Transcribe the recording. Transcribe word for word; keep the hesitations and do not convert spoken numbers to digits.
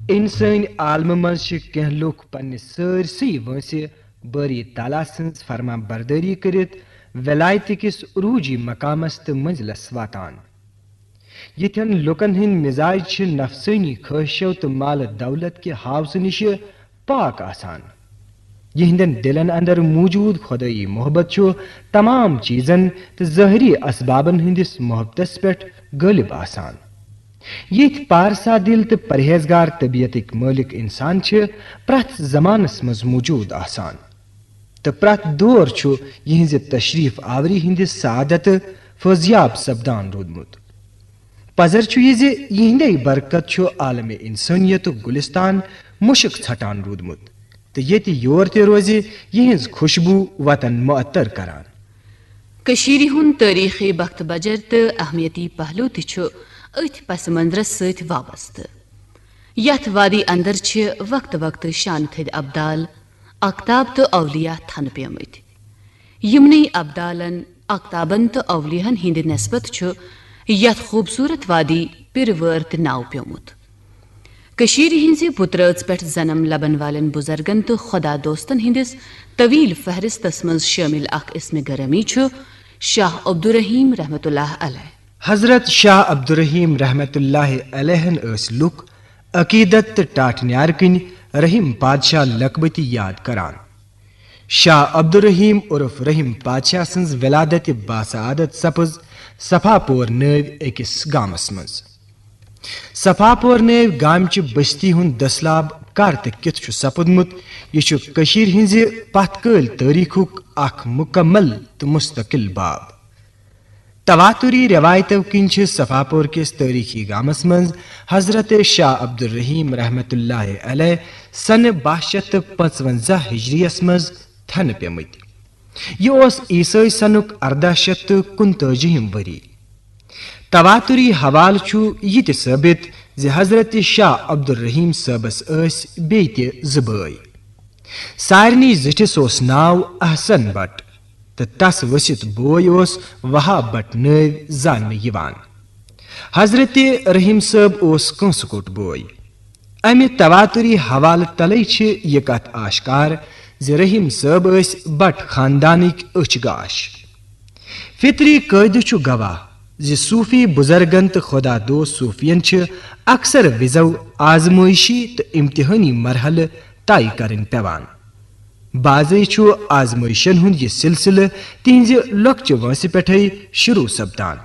انسٲنۍ عالمہٕ منٛز چھِ کینٛہہ لوٗکھ پننہِ سٲرسٕے وٲنٛسہِ بٲری تعالیٰ سٕنٛز فرمان بردٲری کٔرِتھ ولایتہٕ کِس عروٗجی مقامس تہٕ منزلس واتان۔ یِتھٮ۪ن لوٗکن ہٕنٛدۍ مزاج چھِ نفسٲنی خٲہشو تہٕ مال دولت کہِ ہاوسہٕ نِشہِ پاک آسان۔ یِہنٛدٮ۪ن دِلن اندر موجود خۄدٲیی محبت چھُ تمام چیزن تہٕ ظٲہری اسبابن ہٕنٛدِس محبتس پٮ۪ٹھ غٲلب آسان۔ یِتھۍ پارسا دِل تہٕ پرہیزگار طبیعتٕکۍ مٲلِک انسان چھِ پرٛٮ۪تھ زمانس منٛز موجود آسان، تہٕ پرٛٮ۪تھ دور چھُ یِہنٛزِ تشریف آوری ہٕنٛدِ سعادتہٕ فٲضیاب سپدان روٗدمُت۔ پزر چھُ یہِ زِ یِہنٛدے برکت چھُ عالمِ انسٲنیتُک گُلستان مُشک ژھٹان روٗدمُت، تہٕ ییٚتہِ یور تہِ روزِ، یِہنٛز خوشبو وطن معطر کران۔ کٔشیٖرِ ہُنٛد تٲریٖخی بخت بجر تہٕ اہمیتی پہلو تہِ چھُ أتھۍ پس منظرس سۭتۍ وابستہٕ۔ یتھ وادی اندر چھِ وقتہٕ وقتہٕ شانہٕ تھٔدۍ ابدال، اقتاب تہٕ اولیاء تھنہٕ پیمٕتۍ۔ یِمنٕے ابدالن، اقتابن تہٕ اولیاہن ہٕنٛدِ نسبت چھُ یتھ خوٗبصوٗرت وادی پِرٕ وٲر تہِ ناو پیومُت۔ کٔشیٖرِ ہٕنٛزِ بُترٲژ پٮ۪ٹھ جنم لبن والٮ۪ن بُزرگن تہٕ خۄدا دوستن ہٕنٛدِس طویل فہرستس منٛز شٲمِل اکھ اسمِ گرامی چھُ شاہ عبدالرحیم رحمت اللہ علیہ۔ حضرت شاہ عبدالرحیم رحمت اللہ علیہن ٲسۍ لُکھ عقیدت تہٕ ٹاٹھۍ نیارٕ کِنۍ رحیم پادشاہ لقبہٕ تہِ یاد کران۔ شاہ عبدالرحیم عرف رحیم پادشاہ سٕنٛز ولادت باسعادت سپٕز صفا پور نٲوۍ أکِس گامس منٛز۔ صفا پور نٲوۍ گامچہِ بستی ہُنٛد دٔسلاب کر تہٕ کِتھ چھُ سپُدمُت، یہِ چھُ کٔشیٖرِ ہٕنٛزِ پتھ کٲلۍ تٲریٖخُک اکھ مُکمل تہٕ مُستقل باب۔ تواتری رٮ۪وایتو کِنۍ چھِ صفا پور کِس تٲریٖخی گامس منٛز حضرت شاہ عبدالرحیم رحمت اللہ علیہ سنہٕ باہ شیٚتھ تہٕ پانٛژونٛزاہ ہجریَس منٛز تھنہٕ پیمٕتۍ۔ یہِ اوس عیسٲے سنُک ارداہ شیٚتھ تہٕ کُنتٲجِہِم ؤری۔ تواتری حوالہٕ چھُ یہِ تہِ ثٲبت زِ حضرت شاہ عبدالرحیم صٲبس ٲسۍ بیٚیہِ تہِ زٕ بٲے۔ سارنٕے زِٹھِس اوس ناو احسن بٹ تہٕ تس ؤسِتھ بوے اوس وہاب بٹ نٲوۍ زاننہٕ یِوان۔ حضرت رحیم صٲب اوس کٲنٛسہٕ کوٚٹ بوے۔ امہِ تواتری حوالہٕ تلے چھِ یہِ کتھ آشکار زِ رحیم صٲب ٲسۍ بٹ خاندانٕکۍ أچھ گاش۔ فطری قٲعدٕ چھُ گواہ زِ صوفی بُزرگن تہٕ خۄدا دوست صوفین چھِ اکثر وِزو آزمٲیشی تہٕ امتحٲنی مرحلہٕ طے کرٕنۍ پٮ۪وان۔ بعضے چھُ آزمٲیشن ہُنٛد یہِ سلسلہٕ تِہنٛزِ لۄکچہِ وٲنٛسہِ پٮ۪ٹھے شروع سپدان۔